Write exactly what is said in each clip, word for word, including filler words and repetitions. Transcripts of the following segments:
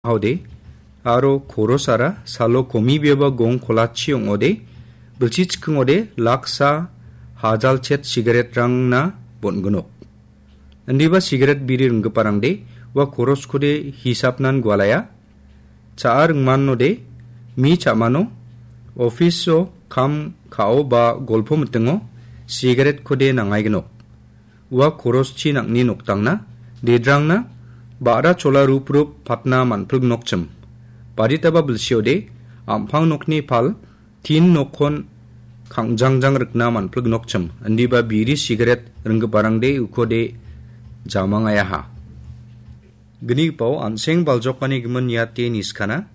Haode, aro korosara salo komibiaba gong kolachi ong·ode, bilsi chikingode laksa hajalchet sigaretrangna bon·ginok. Indiba sigaret biri ringgiparangde ua koroskode hisapnan gualaya. Cha·a ringmanode mi cha·mano, ofiso kam ka·o ba golpo mitingo sigaretkode nangaiginok. Ua koroschi nang·ni noktangna, dedrangna, ba·ra chola rup rup patna man·pilgnokchim. Baditaba bilsiode, am·pang nokni pal, tin nokkon kangjangjang rikna man·pilgnokchim. Indiba biri sigaret ringgiparangde ukode jamangayaha. Gnigipao an·seng baljokani gimin niate niskana,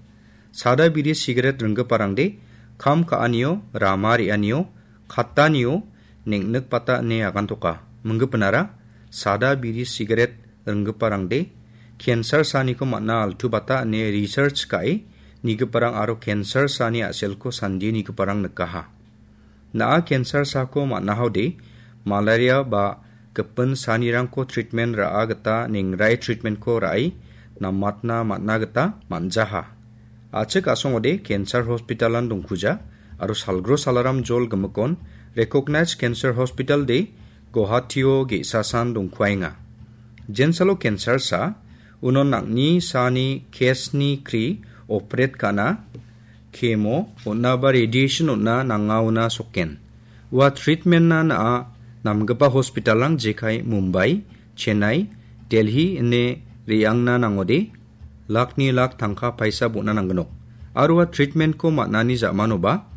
sada biri sigaret ringgiparangde kam ka·anio, rama re·anio, kattanio neng·nikbata ine agantoka. Minggipinara sada biri sigaret ringgiparangde cancer saniko man·a altubata ine research ka·e nigiparang aro cancer sani a·selko sandie nigiparang nikaha. Na·a cancer sako man·ahaode, malaria ba gipin sanirangko treatment ra·a gita nengrai treatmentko ra·e namatna man·a gita man·jaha. A·chik a·songode cancer hospitalan dongkuja aro salgro salaram jol gimikon recognized cancer hospital de Guwahatio ge·sasan dongkuaenga. Jensalo cancer sa, unon nang·ni sani case-ni kri operate ka·na, chemo on·a ba radiation on·a nangaona sokken. Ua treatment-na na·a namgipa hospital-rang jekai Mumbai, Chennai, Delhi ine re·angna nangode, lakni lak tangka paisa bon·a nanggnok. Aro ua treatment-ko man·ani ja·manoba,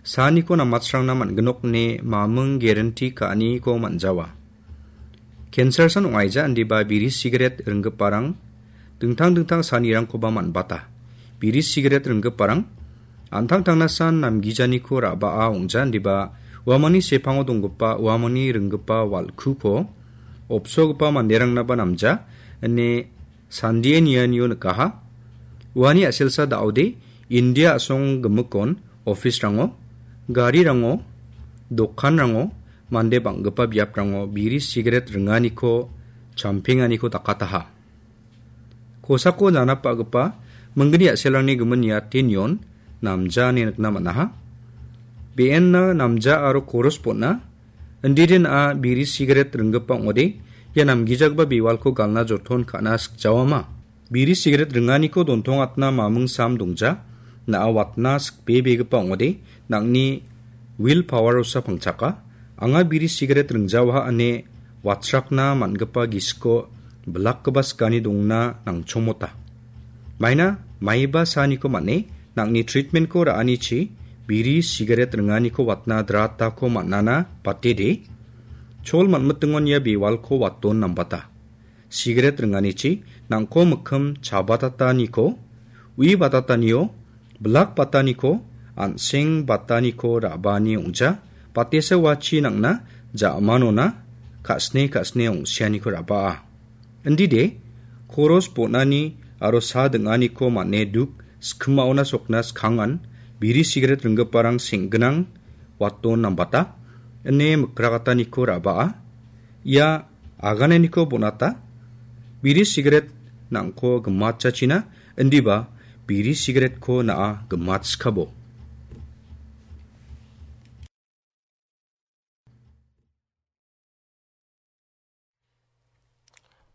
saniko namatsrangna man·gnok ine maming guarantee ka·aniko man·jawa. Cancer san ong·aija indiba biri sigaret ringgiparang dingtang dingtang sanirangkoba man·bata. Biri sigaret ringgiparang an·tangtangna san namgijaniko ra·baa ong·ja indiba uamangni sepango donggipa uamangni ringgipa wal·kuko opsogipa manderangnaba namja ine sandie nianio nikaha. Uani a·selsa da·ode India a·song gimikon office-rango, garirango, dokanrango, mande bang·gipa biaprango biri sigaret ringaniko, champenganiko dakataha. Kosako janapbagipa minggni a·selrangni gimin niate nion namja ine nikna man·aha. Be·enna namja aro koros bon·a. Indiden a biri sigaret ringgipa ong·ode, ia namgijagipa bewalko galna joton ka·na sikjawama. Biri sigaret ringaniko dontongatna maming sam dongja, na·a watna sikbebegipa ong·ode, nang·ni will power-osa pangchaka, anga biri sigaret ringjawaha ine watsrakna man·gipa gisiko bilakgipa sikani dongna nangchomota. Maina maiba saniko man·e, nang·ni treatment-ko ra·anichi biri sigaret ringaniko watna dratako man·ana batede, chol man·mitingon ia bewalko waton nambata. Sigaret ringanichi nang·ko mikkim chabatataniko, ui batatanio, bilak bataniko, an·seng bataniko ra·baani ong·ja, batesa uachi nang·na ja·manona ka·sne ka·sne ong·sianiko ra·baa. Indide, koros bon·ani aro sa ding·aniko man·e duk skimaona sokna skangan biri sigaret ringgiparang seng·ginang waton nambata, ine mikrakataniko ra·baa. Ia agananiko bon·ata, biri sigaret nang·ko gimatjachina, indiba biri sigaretko na·a gimatskabo.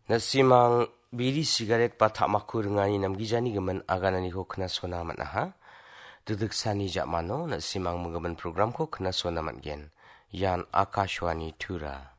Na·simang biri sigaret ba ta·makko ringani namgijani gimin agananiko knasona man·aha. Dikdiksani ja·mano na·simang minggimin programko knasona man·gen. Ian Akashvani Tura.